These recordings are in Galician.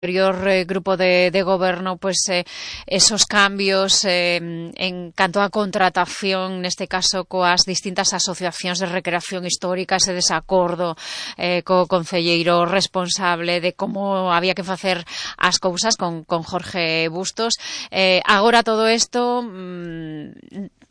grupo de goberno, pues esos cambios en canto a contratación, neste caso coas distintas asociacións de recreación histórica, ese desacordo co concelleiro responsable de como había que facer as cousas con Jorge Bustos. Agora todo isto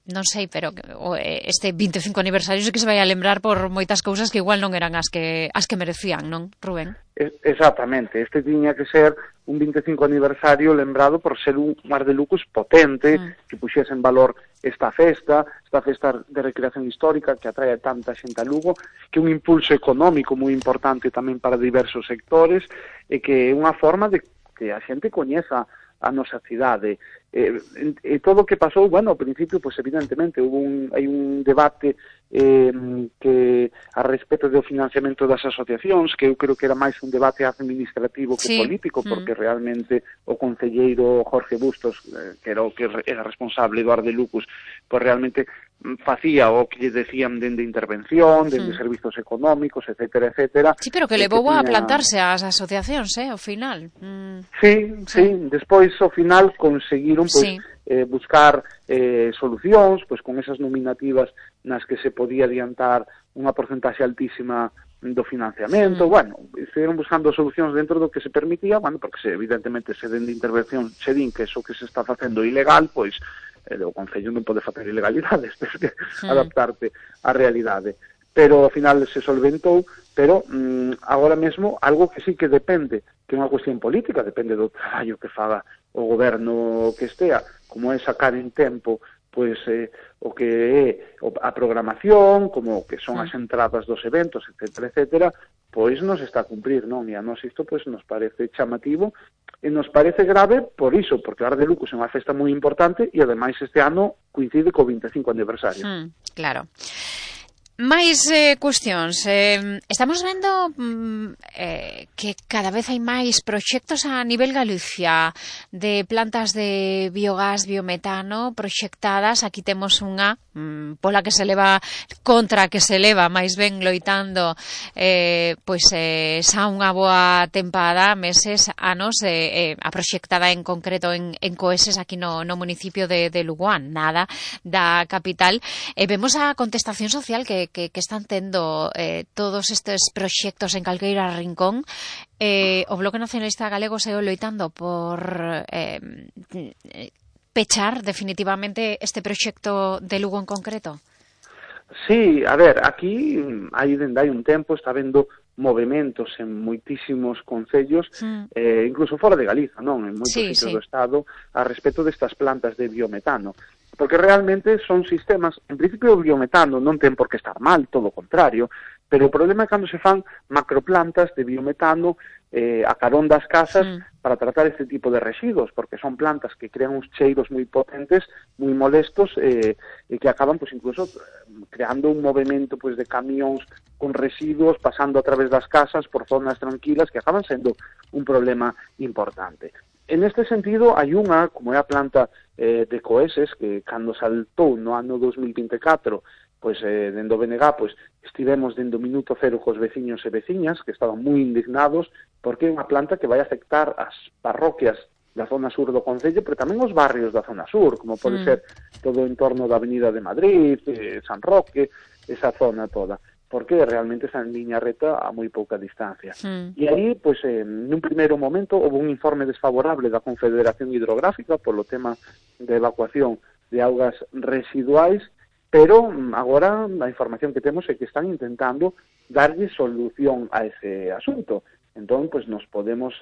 non sei, pero este 25 aniversario sí que se vai a lembrar por moitas cousas que igual non eran as que merecían, non, Rubén? Exactamente, este tiña que ser un 25 aniversario lembrado por ser un Mar de Lucos potente, que puxese en valor esta festa de recreación histórica que atrae a tanta xente a Lugo, que é un impulso económico moi importante tamén para diversos sectores, e que é unha forma de que a xente coñeza a nosa cidade. E todo o que pasou, bueno, ao principio, pues evidentemente, hai un debate que a respecto do financiamento das asociacións, que eu creo que era máis un debate administrativo que político, porque realmente o concelleiro Jorge Bustos, que era responsable do Ar de Lucos, pues realmente facía o que lle decían dende intervención, dende servizos económicos, etcétera, etcétera. Sí, pero que levou a plantarse ás asociacións, ao final. Sí, despois ao final conseguiron buscar solucións, pois con esas nominativas nas que se podía adiantar unha porcentaxe altísima do financiamento, bueno, estuvieron buscando solucións dentro do que se permitía, bueno, porque evidentemente se den de intervención se din que eso que se está facendo ilegal, pois o Concello non pode facer ilegalidades, tens que adaptarte á realidade. Pero ao final se solventou, pero agora mesmo algo que sí que depende, que é unha cuestión política, depende do traballo que faga o goberno que estea, como é sacar en tempo pois o que é a programación, como que son as entradas dos eventos, etcétera, etcétera, pois nos está a cumprir, non? E a nos isto pois nos parece chamativo e nos parece grave por iso, porque o Ar de Lucos é unha festa moi importante e ademais este ano coincide co 25 aniversario. Claro. Máis cuestións. Estamos vendo que cada vez hai máis proxectos a nivel Galicia de plantas de biogás, biometano proxectadas. Aquí temos unha pola que se leva, contra que se leva máis ben loitando pois xa unha boa tempada, meses, anos, a proxectada en concreto en Coeses, aquí no municipio de Lugoán, nada da capital. Vemos a contestación social que están tendo todos estes proxectos en calqueira rincón. O Bloque Nacionalista Galego segue loitando por pechar definitivamente este proxecto de Lugo en concreto. Sí, a ver, aquí dende hai un tempo está habendo movementos en moitísimos concellos, incluso fora de Galiza, non? En moitos sitios do Estado, a respecto destas plantas de biometano. Porque realmente son sistemas, en principio o biometano non ten por que estar mal, todo o contrario, pero o problema é cando se fan macroplantas de biometano a carón das casas para tratar este tipo de residuos, porque son plantas que crean uns cheiros moi potentes, moi molestos, e que acaban, pues, incluso creando un movimento, pues, de camións con residuos pasando a través das casas por zonas tranquilas que acaban sendo un problema importante. En este sentido, hai unha, como é a planta de Coeses, que cando saltou no ano 2024, pois dende o BNG, pois estivemos dende o minuto cero cos veciños e veciñas, que estaban moi indignados, porque é unha planta que vai afectar as parroquias da zona sur do Concello, pero tamén os barrios da zona sur, como pode ser todo o entorno da Avenida de Madrid, San Roque, esa zona toda, porque realmente está en liña reta a moi pouca distancia. E aí, pois, nun primeiro momento, houve un informe desfavorable da Confederación Hidrográfica polo tema de evacuación de augas residuais, pero agora a información que temos é que están intentando darlle solución a ese asunto. Entón, pois, nos podemos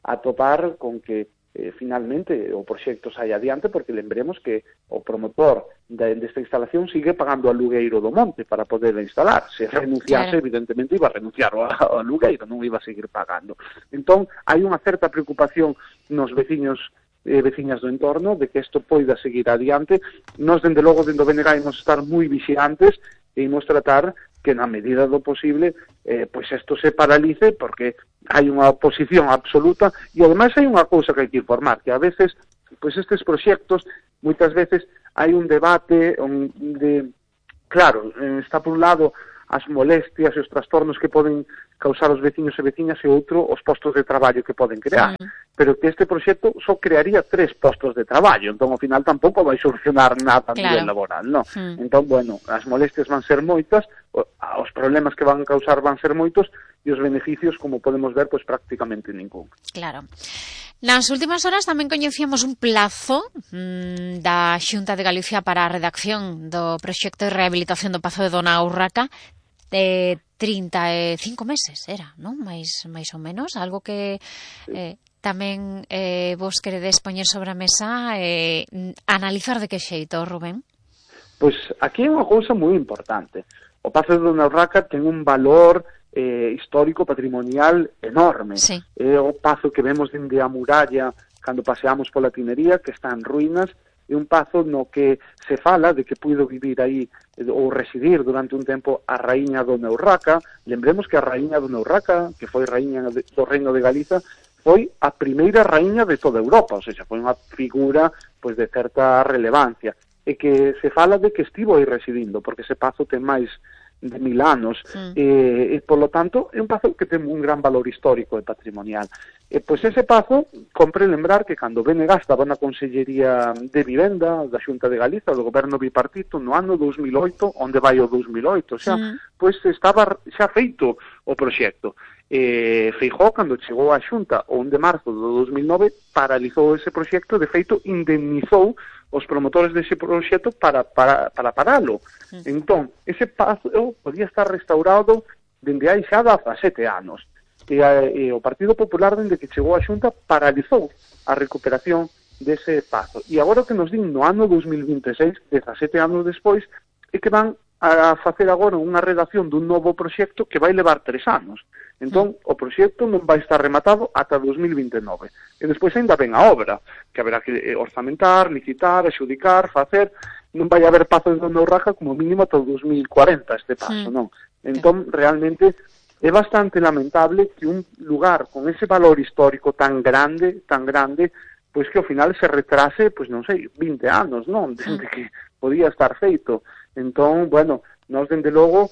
atopar con que finalmente o proxecto sai adiante, porque lembremos que o promotor desta instalación sigue pagando ao alugueiro do monte para poder instalar. Se renunciase, evidentemente, iba a renunciar ao alugueiro, non iba a seguir pagando. Entón, hai unha certa preocupación nos veciños e veciñas do entorno de que isto poida seguir adiante. Nos, dende logo, dende o BNG, imos estar moi vixiantes e imos tratar que na medida do posible pois isto se paralice, porque hai unha oposición absoluta e ademais hai unha cousa que hai que informar, que a veces pois estes proxectos moitas veces hai un debate onde, claro, está por un lado as molestias e os trastornos que poden causar os veciños e veciñas e outro os postos de traballo que poden crear. Pero que este proxecto só crearía 3 postos de traballo, entón ao final tampouco vai solucionar nada a nivel laboral, non? Entón, bueno, as molestias van ser moitas, os problemas que van causar van ser moitos e os beneficios, como podemos ver, pois prácticamente ningún. Claro. Nas últimas horas tamén coñecíamos un plazo da Xunta de Galicia para a redacción do proxecto de rehabilitación do Pazo de Dona Urraca de 35 meses, era, non? Mais ou menos, algo que tamén vos queredes poñer sobre a mesa analizar de que xeito, Rubén? Pois aquí é unha cousa moi importante. O Pazo de Dona Urraca ten un valor histórico, patrimonial enorme. Sí. É o pazo que vemos dende a muralla cando paseamos pola Tinería, que está en ruínas, é un pazo no que se fala de que puido vivir aí ou residir durante un tempo a raíña Dona Urraca. Lembremos que a raíña Dona Urraca, que foi raíña do Reino de Galiza, foi a primeira raíña de toda Europa, ou seja, foi unha figura pois de certa relevancia, e que se fala de que estivo aí residindo, porque ese pazo ten máis de 1000 anos, e por lo tanto é un pazo que ten un gran valor histórico e patrimonial. Pois ese pazo, compre lembrar que cando BNG estaba na Consellería de Vivenda da Xunta de Galiza, do goberno bipartito, no ano 2008, onde vai o 2008, xa, pois estaba xa feito o proxecto. Feijóo, cando chegou á Xunta o 1 de marzo do 2009, paralizou ese proxecto, de feito indemnizou os promotores dese proxecto para paralo. Entón, ese pazo podía estar restaurado dende hai xa 17 anos. E o Partido Popular, dende que chegou á Xunta, paralizou a recuperación dese pazo. E agora que nos din no ano 2026, 17 anos despois, é que van a facer agora unha redacción dun novo proxecto que vai levar 3 anos. Entón, o proxecto non vai estar rematado ata 2029. E despois ainda ven a obra, que haberá que orzamentar, licitar, adxudicar, facer. Non vai haber pazo de Dona Urraca como mínimo ata 2040 este paso, non? Entón, realmente, é bastante lamentable que un lugar con ese valor histórico tan grande, pois que ao final se retrase, pois non sei, 20 anos, non? Desde que podía estar feito. Entón, bueno, nós, dende logo,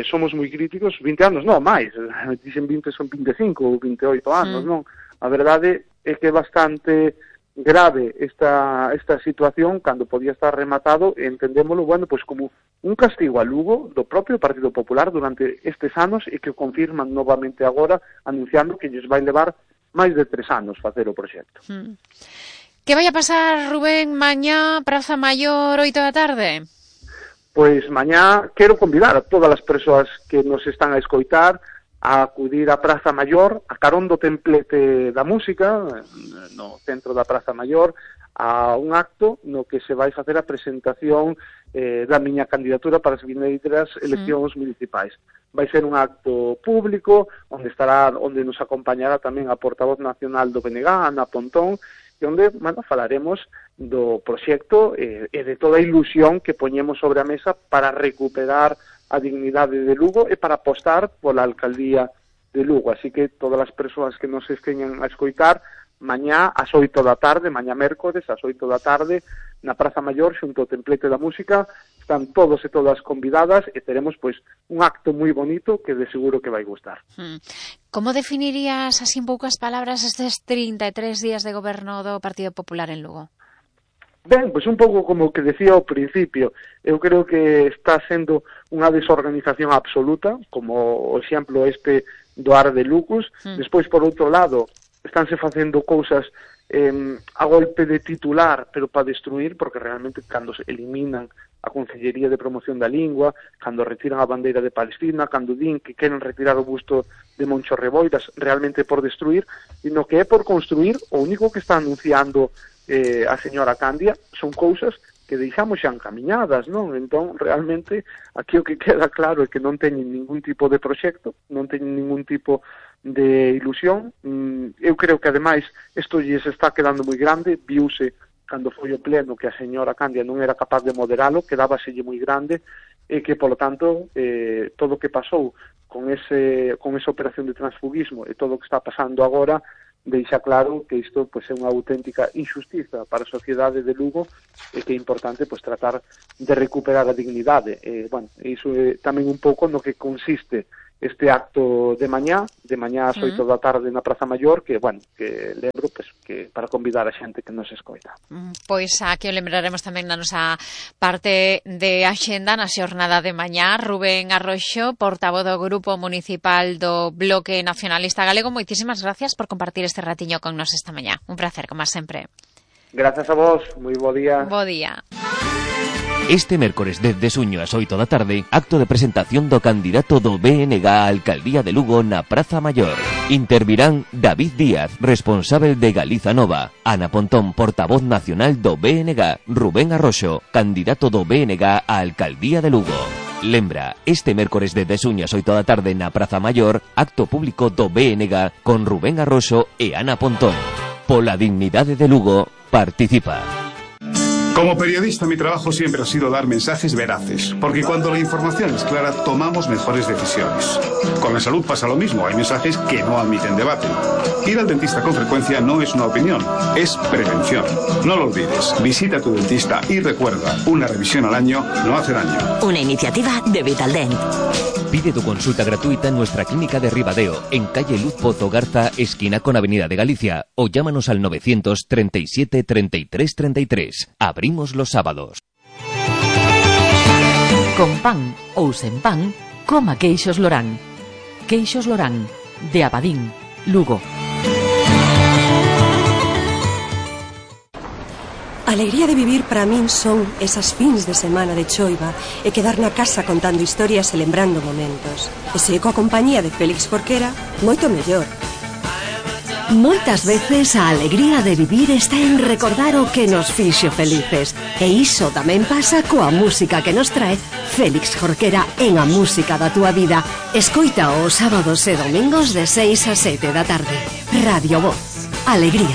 somos moi críticos, 20 anos, non, máis, dicen 20 son 25 ou 28 anos, non? A verdade é que é bastante grave esta situación, cando podía estar rematado, e entendémolo, bueno, pois como un castigo a Lugo do propio Partido Popular durante estes anos, e que o confirman novamente agora, anunciando que lles vai levar máis de 3 anos facer o proxecto. Que vai a pasar, Rubén, mañá, Praza Maior, 8 da tarde? Pois mañá quero convidar a todas as persoas que nos están a escoitar a acudir á Praza Maior, a carón do templete da música, no centro da Praza Maior, a un acto no que se vai facer a presentación da miña candidatura para as vindeiras eleccións municipais. Vai ser un acto público, onde nos acompañará tamén a portavoz nacional do BNG, Ana Pontón, e onde, bueno, falaremos do proxecto e de toda a ilusión que poñemos sobre a mesa para recuperar a dignidade de Lugo e para apostar pola alcaldía de Lugo. Así que todas as persoas que nos esteñan a escoitar, mañá ás 8 da tarde, mañá mércores ás 8 da tarde, na Praza Maior, xunto ao templete da música, están todos e todas convidadas e teremos, pois, un acto moi bonito que de seguro que vai gustar. Como definirías, así en poucas palabras, estes 33 días de goberno do Partido Popular en Lugo? Ben, pois un pouco como o que decía ao principio, eu creo que está sendo unha desorganización absoluta, como o exemplo este do Ar de Lucus. Despois, por outro lado, estánse facendo cousas a golpe de titular, pero para destruir, porque realmente cando se eliminan a Consellería de Promoción da Lingua, cando retiran a bandeira de Palestina, cando din que queren retirar o busto de Moncho Reboiras, realmente por destruir, e no que é por construir, o único que está anunciando a señora Candia son cousas que deixamos xa encaminhadas, non? Entón, realmente, aquí o que queda claro é que non teñen ningún tipo de proxecto, non teñen ningún tipo de ilusión. Eu creo que, ademais, isto lles está quedando moi grande, viuse cando foi o pleno que a señora Candia non era capaz de moderalo, quedábaselle moi grande, e que, polo tanto, todo o que pasou con esa operación de transfugismo e todo o que está pasando agora, deixa claro que isto pois é unha auténtica injustiza para a sociedade de Lugo e que é importante pois tratar de recuperar a dignidade. Iso é tamén un pouco no que consiste este acto de mañá ás 8 da tarde na Praza Maior, que lembro que para convidar a xente que nos escoita. Pois aquí o lembraremos tamén na nosa parte de axenda na xornada de mañá. Rubén Arroxo, portavoz do Grupo Municipal do Bloque Nacionalista Galego, moitísimas gracias por compartir este ratiño con nos esta mañá. Un placer, como sempre. Gracias a vos, moi bo día. Bo día. Este mércores desde Suño ás 8 da tarde, acto de presentación do candidato do BNG á Alcaldía de Lugo na Praza Maior. Intervirán David Díaz, responsável de Galiza Nova, Ana Pontón, portavoz nacional do BNG, Rubén Arroxo, candidato do BNG á Alcaldía de Lugo. Lembra, este mércores desde Suño ás 8 da tarde na Praza Maior, acto público do BNG con Rubén Arroxo e Ana Pontón. Pola dignidade de Lugo, participa. Como periodista, mi trabajo siempre ha sido dar mensajes veraces, porque cuando la información es clara, tomamos mejores decisiones. Con la salud pasa lo mismo, hay mensajes que no admiten debate. Ir al dentista con frecuencia no es una opinión, es prevención. No lo olvides, visita a tu dentista y recuerda, una revisión al año no hace daño. Una iniciativa de Vitaldent. Pide tu consulta gratuita en nuestra clínica de Ribadeo, en calle Luz Pozo Garza, esquina con Avenida de Galicia, o llámanos al 937 33 33. Abrimos los sábados. Con pan ou sen pan, coma queixos Lorán. Queixos Lorán, de Abadín, Lugo. A alegría de vivir para min son esas fins de semana de choiva e quedar na casa contando historias e lembrando momentos. E se coa compañía de Félix Jorquera, moito mellor. Moitas veces a alegría de vivir está en recordar o que nos fixo felices. E iso tamén pasa coa música que nos trae Félix Jorquera en A Música da Túa Vida. Escoita os sábados e domingos de 6 a 7 da tarde. Radio Voz. Alegría.